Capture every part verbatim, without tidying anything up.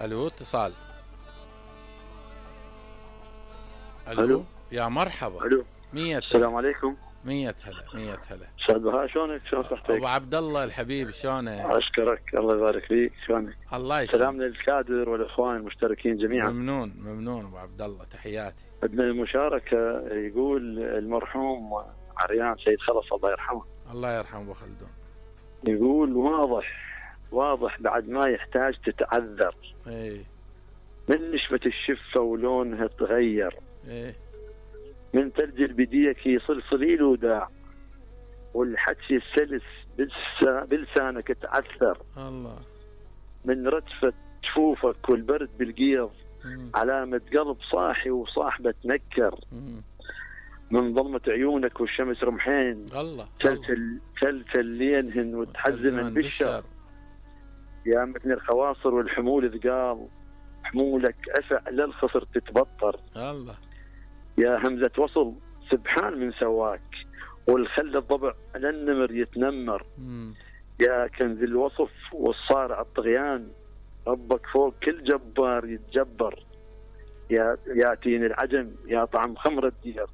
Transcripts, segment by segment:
الو اتصال. الو, ألو. يا مرحبا. الو مية السلام عليكم. مية هلا مية هلا. استاذ بهاء شلونك؟ شلون صحتك؟ ابو عبد الله الحبيب شلونك؟ اشكرك الله يبارك فيك. شلونك؟ الله يسلمك. سلامنا للكادر والاخوان المشتركين جميعا. ممنون ممنون ابو عبد الله تحياتي. بدنا المشاركه. يقول المرحوم عريان سيد خلص الله يرحمه. الله يرحمه ابو خلدون. يقول واضح واضح بعد ما يحتاج تتعذر. ايه من نشفة الشفة ولونها تغير. ايه من ثلج البديك صلصليل وداع. والحكي السلس بلسا بلسانك تعثر. الله. من رجفة جفوفك والبرد بالقيض. مم. علامة قلب صاحي وصاحبه تنكر. مم. من ظلمة عيونك والشمس رمحين. الله. تلتل تلتل لينهن وتحزمن بالشر. يا متن الخواصر والحمول ثقال. حمولك أفع للخصر تتبطر. الله. يا همزة وصل سبحان من سواك. والخل الضبع للنمر يتنمر. مم. يا كنز الوصف والصارع الطغيان. ربك فوق كل جبار يتجبر. يا يا تين العجم يا طعم خمر الدير.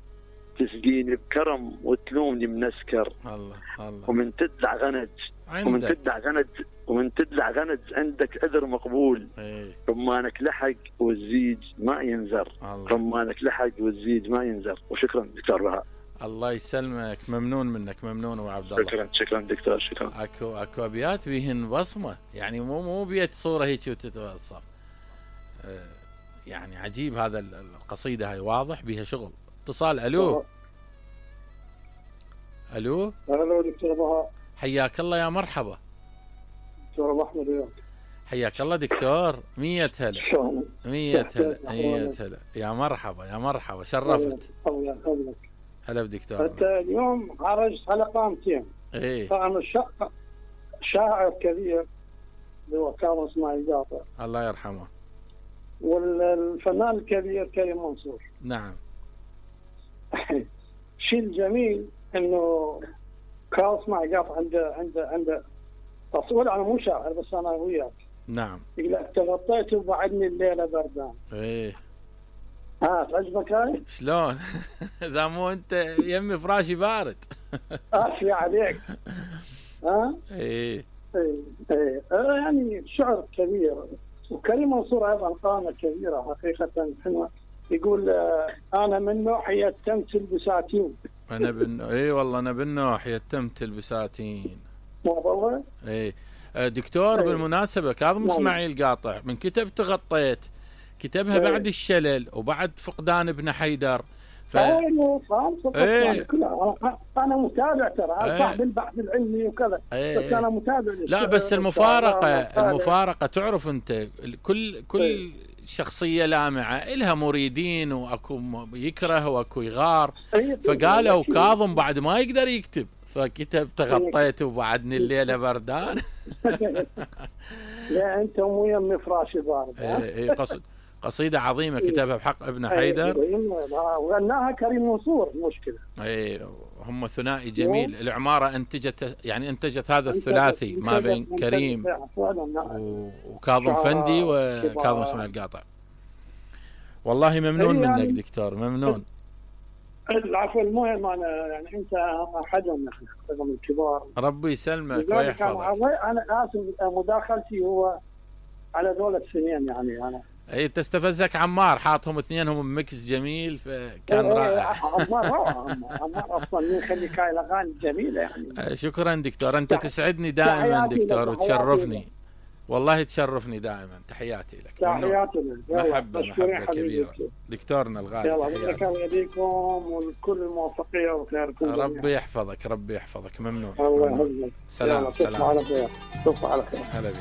تسقيني بكرم وتلومني منسكر. الله الله. ومن تدلع غنج ومن عندك. تدلع غنج ومن تدلع غنج عندك عذر مقبول. ايه رمانك لحق والزيج ما ينزر. الله. رمانك لحق والزيج ما ينزر. وشكرا دكتور بهاء. الله يسلمك. ممنون منك. ممنون ابو عبد الله. شكرا شكرا دكتور شكرا. اكو اكو ابيات بيهن بصمه، يعني مو مو بيت صوره هيك وتتوصف. آه يعني عجيب هذا القصيده هاي واضح بيها شغل. اتصال. الو الو الو دكتور بهاء. حياك الله يا مرحبا. دكتور ابو احمد وياك. حياك الله دكتور. مية هلا شلونك؟ مية هلا مية هلا يا مرحبا يا مرحبا شرفت. الله يخليك. هلا بدكتور. انت اليوم خرجت على قامتين. ايه طبعا الشق شاعر كبير اللي هو كاظم اسماعيل قاطع، الله يرحمه. والفنان الكبير كريم منصور. نعم. الشيء الجميل انه كاظم اسماعيل قاطع عنده عنده عنده تصوير. انا مو شاعر بس انا وياك. نعم. يقول لك تغطيت وبعدني الليله بردان. ايه ها تعجبك هاي؟ شلون؟ اذا مو انت يمي فراشي بارد. افي عليك. ها؟ ايه ايه ايه يعني شعر كبير. وكريم منصور ايضا قامه كبيره حقيقه حلوه. يقول آه انا من نوع يتمت البساتين. انا بن اي والله انا بالنوح يتمت البساتين. مو والله؟ اي دكتور. أي. بالمناسبه كاظم نعم. اسماعيل قاطع من كتب تغطيت كتبها أي. بعد الشلل وبعد فقدان ابن حيدر. ف ايوه فاهم. إيه. انا انا متابع ترى. إيه. صاحب البحث العلمي وكذا. إيه. بس انا متابع. لا بس المفارقه المفارقه تعرف انت كل كل إيه. شخصيه لامعه الها مريدين واكو يكره واكو يغار. إيه. فقالوا كاظم بعد ما يقدر يكتب فكتب تغطيت وبعدني الليله بردان. لا انت مو يمي فراشي بارد. اي اي قصد قصيده عظيمه كتبها بحق ابن حيدر. وغناها كريم منصور. المشكله اي هم ثنائي جميل. العماره انتجت يعني انتجت هذا الثلاثي ما بين كريم وكاظم فندي وكاظم اسماعيل قاطع. والله ممنون منك دكتور. ممنون. العفو. المهم انا يعني انت احدهم من الكبار. ربي يسلمك ويحفظك. انا اسف مداخلتي هو على دولة سنين يعني انا. اي تستفزك عمار حاطهم اثنينهم ميكس جميل فكان إيه رائع. عمار روعة. عمار اصلا يخليك هاي الاغاني جميلة يعني. شكرا دكتور. انت تسعدني دائما دكتور وتشرفني. والله تشرفني دائما. تحياتي لك. تحياتي لك. محبة محبة كبيرة دكتورنا الغالي. يلا الله يديكم والكل الموفقية وخيركم. ربي يحفظك ربي يحفظك. ممنون. الله يحفظك. سلام سلام. على خير. تصبح على خير. هلا بك.